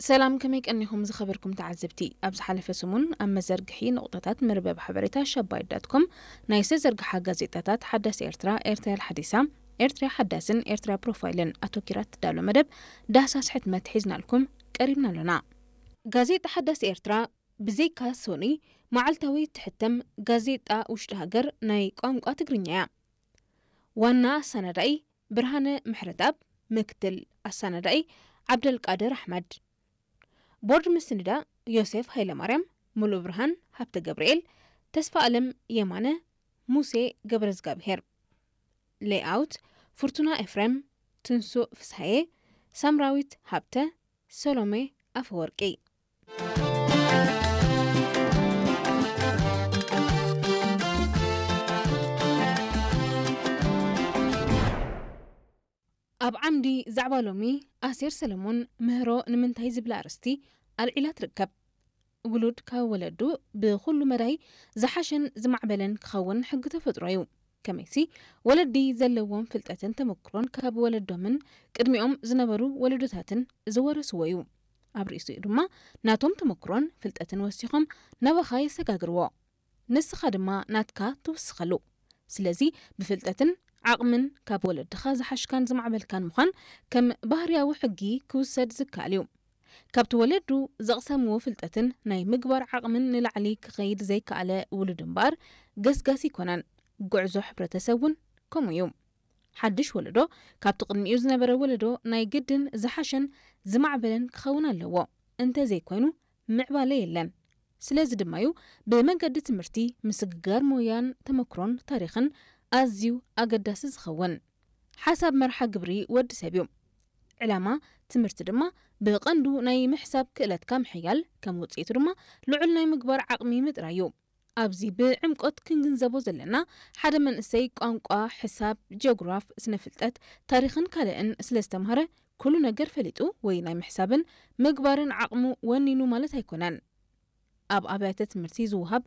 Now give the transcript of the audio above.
ሰላም፣ ከመይ ቀኒኹም ዝኸበርኩም ተዓዘብቲ? ኣብ ዝሓለፈ ሰሙን ኣብ መዘርግሒ ነቑጣታት መርበብ ሓበሬታ ሸባይት ዳት ኮም ናይ ዝተዘርግሓ ጋዜጣታት ሓዳስ ኤርትራ፣ ኤርትራ ሓዲሳ፣ ኤርትራ ሓዳስን ኤርትራ ፕሮፋይልን ኣተኪራ ትዳሎ መደብ ዳህሳስ ሕትመት ሒዝናልኩም ቀሪብና ኣሎና። ጋዜጣ ሓዳስ ኤርትራ ብዘይካ ሶኒ መዓልታዊ ትሕተም ጋዜጣ ውሽጢ ሃገር ናይ ቋንቋ ትግርኛ እያ። ዋና ኣሰናዳኢ ብርሃነ ምሕረትኣብ፣ ምክትል ኣሰናዳኢ ዓብደልቃድር ኣሕመድ። ቦርድ ምስንዳ ዮሴፍ ሃይለማርያም፣ ሙሉእ ብርሃን ሃብተ ገብርኤል፣ ተስፋ ኣለም የማነ፣ ሙሴ ገብረዝጋብሄር። ሌይኣውት ፍርቱና ኤፍሬም፣ ትንሱእ ፍስሃየ፣ ሳምራዊት ሃብተ፣ ሰሎሜ ኣፈወርቂ። ኣብ ዓምዲ ዛዕባ ሎሚ፣ ኣሴር ሰለሞን ምህሮ ንምንታይ ዝብል ኣርእስቲ ኣልዒላ ትርከብ። ውሉድ ካብ ወለዱ ብኹሉ መዳይ ዝሓሸን ዝማዕበለን ክኸውን ሕጊ ተፈጥሮ እዩ። ከመይሲ፣ ወለዲ ዘለዎም ፍልጠትን ተመክሮን ካብ ወለዶምን ቅድሚኦም ዝነበሩ ወለዶታትን ዝወረስዎ እዩ። ኣብ ርእሲኡ ድማ ናቶም ተመክሮን ፍልጠትን ወሲኾም ናባኻ የሰጋግርዎ። ንስኻ ድማ ናትካ ትውስኸሉ። ስለዚ ብፍልጠትን ዓቕምን ካብ ወለድኻ ዝሓሽካን ዝማዕበልካን ምዃን ከም ባህርያዊ ሕጊ ክውሰድ ዝከኣል እዩ። ካብቲ ወለዱ ዘቕሰምዎ ፍልጠትን ናይ ምግባር ዓቕምን ንላዕሊ ክኸይድ ዘይከኣለ ውሉድ እምበኣር ገስጋሲ ኣይኮነን። ጉዕዞ ሕብረተሰብ እውን ከምኡ እዩ። ሓድሽ ወለዶ ካብቲ ቅድሚኡ ዝነበረ ወለዶ ናይ ግድን ዝሓሸን ዝማዕበለን ክኸውን ኣለዎ። እንተዘይኮይኑ ምዕባለ የለን። ስለዚ ድማ እዩ ብመንገዲ ትምህርቲ ምስግጋር ሞያን ተመክሮን ታሪኽን ኣዝዩ ኣገዳሲ ዝኸውን። ሓሳብ መርሓ ግብሪ ወዲ ሰብ እዩ። ዕላማ ትምህርቲ ድማ ብቐንዱ ናይ ምሕሳብ ክእለትካ ምሕያል፣ ከም ውጽኢቱ ድማ ልዑል ናይ ምግባር ዓቕሚ ምጥራይ እዩ። ኣብዚ ብዕምቆት ክንግንዘቦ ዘለና፣ ሓደ መንእሰይ ቋንቋ፣ ሕሳብ፣ ጂኦግራፍ፣ ስነ ፍልጠት፣ ታሪኽን ካልእን ስለ ዝተምሃረ ኩሉ ነገር ፈሊጡ ወይ ናይ ምሕሳብን ምግባርን ዓቕሙ ወኒኑ ማለት ኣይኮነን። ኣብ ኣብያተ ትምህርቲ ዝወሃብ